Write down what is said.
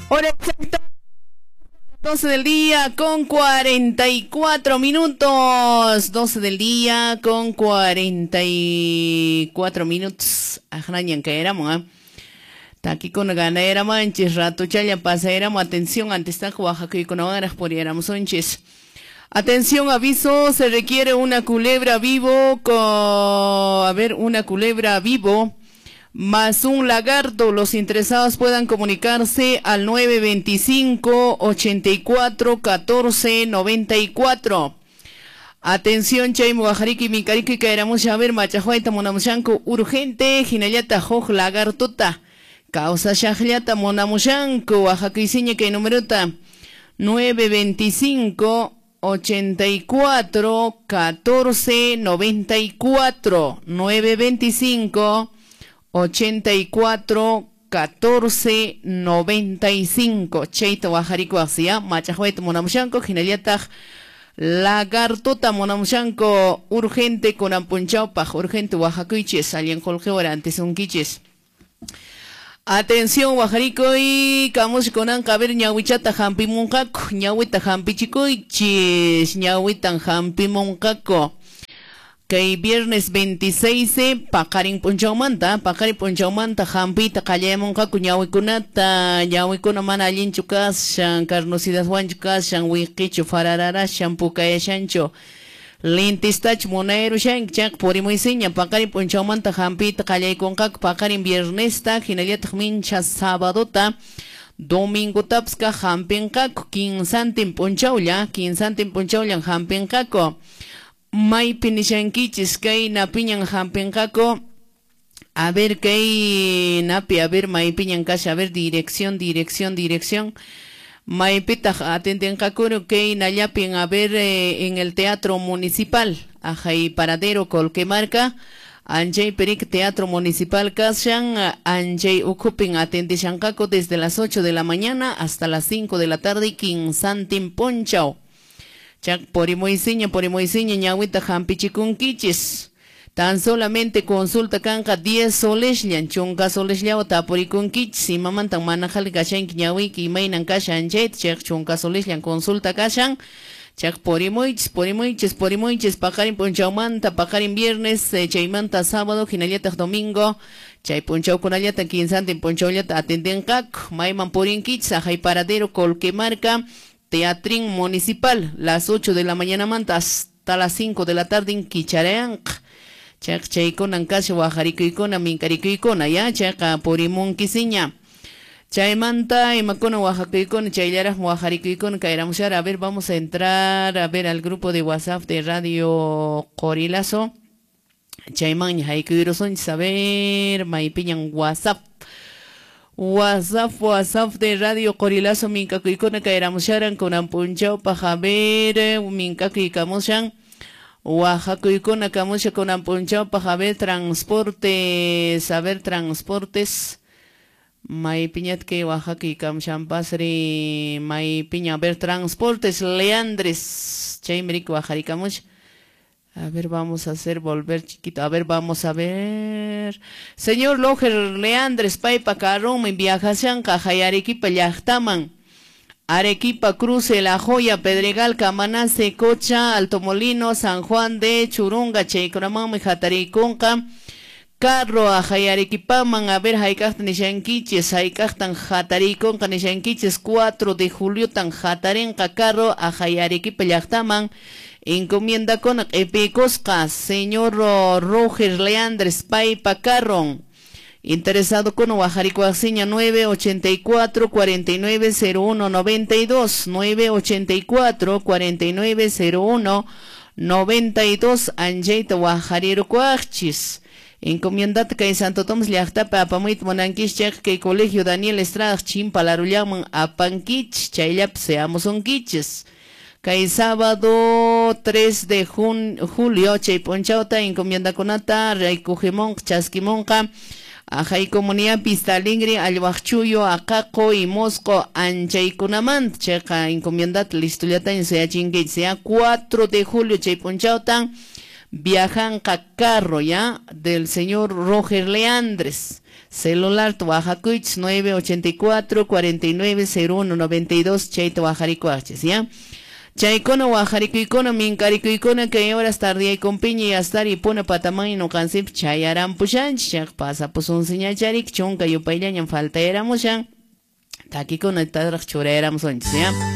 Hora exacta 12 del día con 44 minutos. 12 del día con 44 minutos. Ajnañan caeramos, ¿eh? Takikuna ganayeramanchis, ratuchalla pasayeramo. Atención, antes está Oaxaca puriéramos unchis. Atención, aviso, se requiere una culebra vivo con, a ver, una culebra vivo más un lagarto. Los interesados puedan comunicarse al 925 84 14 94. Atención, chay wajariki minkariki kaeramusha, a ver, machahuayta munamushanku urgente, hinallata huk lagartota. Causa shaqllata munamushanku, Oaxaca kay numerota 925 84 14 94, 925 84 14 95. Chayta wajariko hacia machahuayta munamushanku, hinallataq lagartota munamushanku urgente kunanpunchawpaq, urgente wajakuychis, allin qullqiwara antisunkichis. Atención, wajarikoy, kamush kunanqa, a ver, ñawichata hampimunqaku, ñawita hampichikuychis, ñawitan hampimunqaku. Kay viernes 26, paqarin p'unchawmanta, paqarin p'unchawmanta hampiyta qallayamunqaku ñawikunata, ñawikuna mana allinchu kashan, carnosidadwanchu kashan, wiqichu, farararashan, pukayashanchu. Lentistach munayarushanki chayqa purimuysiña, paqarin p'unchawmanta hampiyta qallaykunqaku, paqarin viernesta, hinallataq mincha sabadota, domingotapas kaq hampinqaku, kinsantin p'unchawlla, kinsantin p'unchawllan hampinqaku. Maypi nishankichis kay napiñan hampinqaku, a ver kay napi, a ver maypiñan kasha, a ver dirección, dirección, dirección. Maypitaq atentinqakuru kay nallapin, a ver, en el Teatro Municipal, ajay Paradero Colquemarca, anchay perik Teatro Municipal kashan, anchay ukupin atentishanqaku desde las 8 de la mañana hasta las 5 de la tarde, kinsantin punchaw. Chak porimuisiña, porimuisiña, ñawita hampichikunkichis. Tan solamente consulta kanqa 10 solesllan, chunka soleslawa tapurikunkichis, imamantan manajali kashanki ñawiki, imaynan kashan chayta, chayqa chunka solesllan consulta kashan. Chaq purimuichis, purimuichis, purimuichis, paqarin p'unchawmanta, paqarin viernes, chaymanta sábado, hinallataq domingo, chay p'unchawkunallata kinsantin p'unchawllata atentinqaku, mayman purinkichis, ajay Paradero Colquemarca, Teatrín Municipal, las 8 de la mañana manta hasta las 5 de la tarde en kicharanqa. Chaq chaykunan kasha wajarikuykuna, minkarikuykuna, ya, chayqa purimunkisiña. Chaymanta imakuna oaxacuykuna, chayllaraq wajarikuykuna kayramushara. A ver, vamos a entrar a ver al grupo de WhatsApp de Radio Qorilazo. Chaymanña haykuyrusunchis, a ver, maypiñan WhatsApp. WhatsApp, WhatsApp de Radio Qorilazo minkakuykuna kayramusharan kunan p'unchawpaq, a ver, minkakuykamushan. Oaxacuykuna kamusha kunan p'unchawpaq, a ver, transportes, a ver, transportes. Maypiñat kay oaxakuykamushanpasri, maypiña, a ver, transportes Leandres, chaymi riki wajarikamusha. A ver, vamos a hacer volver chiquito. A ver, vamos a ver. Señor Loger Leandres, paypa carrunmi viajashanqa hay Arequipa llaqtaman. Arequipa, Cruce, La Joya, Pedregal, Camanase, Cocha, Alto Molino, San Juan de Churunga, chaykunamanmi hatariykunqa. Carro a Arequipaman, a ver, hayk'aqta nishankichis, hayk'aqtan hatariykunqa nishankichis, 4 de julio tan hatarinqa carro a Arequipa llaqtaman. Encomienda con q'ipiykusqa, señor Roger Leandres, paypa carron. Interesado con wajarikuaqsiña 984 49 01 92, 984 49 01 92, anchayta wajarirukuaqchis. Encomiendata kay Santo Tomás llaqtapi apamuyta munankichis chayqa kay Colegio Daniel Estrada chimpalarullaman apankichis, chayllapi seamusunkichis. Kay sábado 3 de julio chay p'unchawta encomiendakunata raykujimunqa chaskimunqa ajay comunidad Pista Alegre, Allwaqchuyo, Aqaqo y Mosco anchaykunamanta chayqa encomiendata listullataña suyachinkichis ya. 4 de julio chay p'unchawta viajanqa carro ya del señor Roger Leandres. Celular wajakuychis 984 49 01 92 chayta wajarikuwaqchis, ya. Chaykuna wajarikuykuna minkarikuykuna kay horas tardiyaykunpiña yastari puna pataman nuqanchikpi chayaranpushanchis, chayqa pasapusunsiñacharik chunka yupayllañam faltayaramushan. Takikuna taraq churayaramusunchis, ya.